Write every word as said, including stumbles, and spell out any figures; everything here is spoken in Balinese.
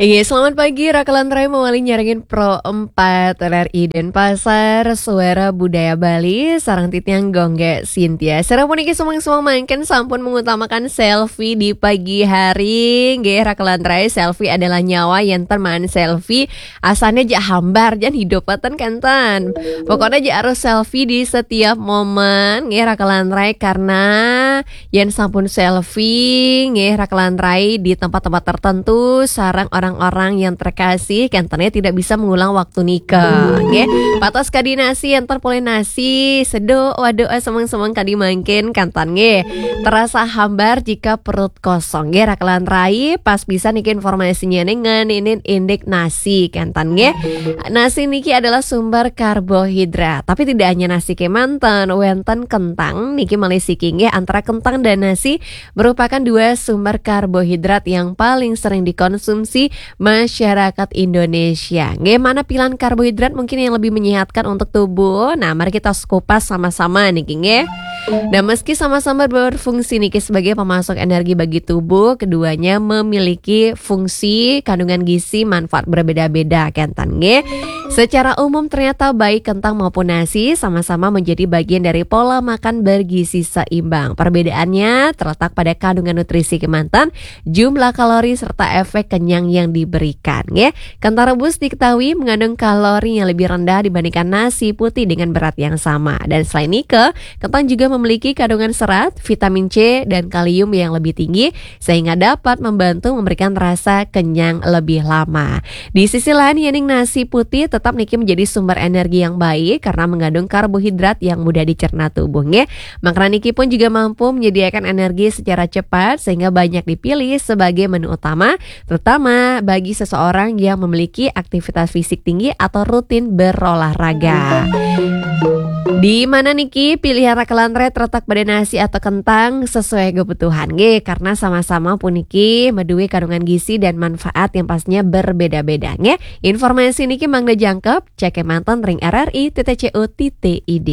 Iya, selamat pagi, Raka Lantrai mawali nyarengin Pro empat R R I Denpasar, Suara Budaya Bali, sareng titiang Gung Cynthia. Sira puniki semeng-semeng mangkin sampun mengutamakan selfie di pagi hari. Nggih, Raka Lantrai, selfie adalah nyawa, yén ten maan selfie, asane jak hambar, jan hidup ten kenten. Pokoknya jak harus selfie di setiap momen, nggih, Raka Lantrai, karena yén sampun selfie, nggih, Raka Lantrai, di tempat-tempat tertentu sareng orang-orang yang terkasih, kentene tidak bisa mengulang waktu nika, nggih. Patos kadi nasi, enten polih nasi, seduk, waduh, eh, semeng-semeng kadi mangkin, kenten, nggih. Terasa hambar jika perut kosong, nggih, Raka Lantrai, pas bisa niki informasinya nih ngeninin indik nasi, kenten, nggih. Nasi niki adalah sumber karbohidrat, tapi tidak hanya nasi kemanten, wenten kentang, niki malih siki, nggih, antara kentang dan nasi merupakan dua sumber karbohidrat yang paling sering dikonsumsi masyarakat Indonesia. Nggih, mana pilihan karbohidrat mungkin yang lebih menyehatkan untuk tubuh? Nah, mari kita kupas sama-sama niki, nggih. Nah, meski sama-sama berfungsi niki sebagai pemasok energi bagi tubuh, keduanya memiliki fungsi, kandungan gizi, manfaat berbeda-beda, kenten, nggih. Secara umum ternyata baik kentang maupun nasi sama-sama menjadi bagian dari pola makan bergizi seimbang. Perbedaannya terletak pada kandungan nutrisi kemanten, jumlah kalori, serta efek kenyang yang diberikan, nggih. Kentang rebus diketahui mengandung kalori yang lebih rendah dibandingkan nasi putih dengan berat yang sama. Dan selain nika, kentang juga memiliki kandungan serat, vitamin C, dan kalium yang lebih tinggi, sehingga dapat membantu memberikan rasa kenyang lebih lama. Di sisi lain, yening nasi putih tetap niki menjadi sumber energi yang baik karena mengandung karbohidrat yang mudah dicerna tubuh, nggih. Makanan niki pun juga mampu menyediakan energi secara cepat sehingga banyak dipilih sebagai menu utama, terutama bagi seseorang yang memiliki aktivitas fisik tinggi atau rutin berolahraga. Di mana niki pilihan Raka Lantrai terletak pada nasi atau kentang sesuai kebutuhan, nggih, karena sama-sama puniki madué kandungan gizi dan manfaat yang pastinya berbeda-beda, nggih. Informasi niki mangda jangkep, cek kemanten ring R R I titik C O titik I D.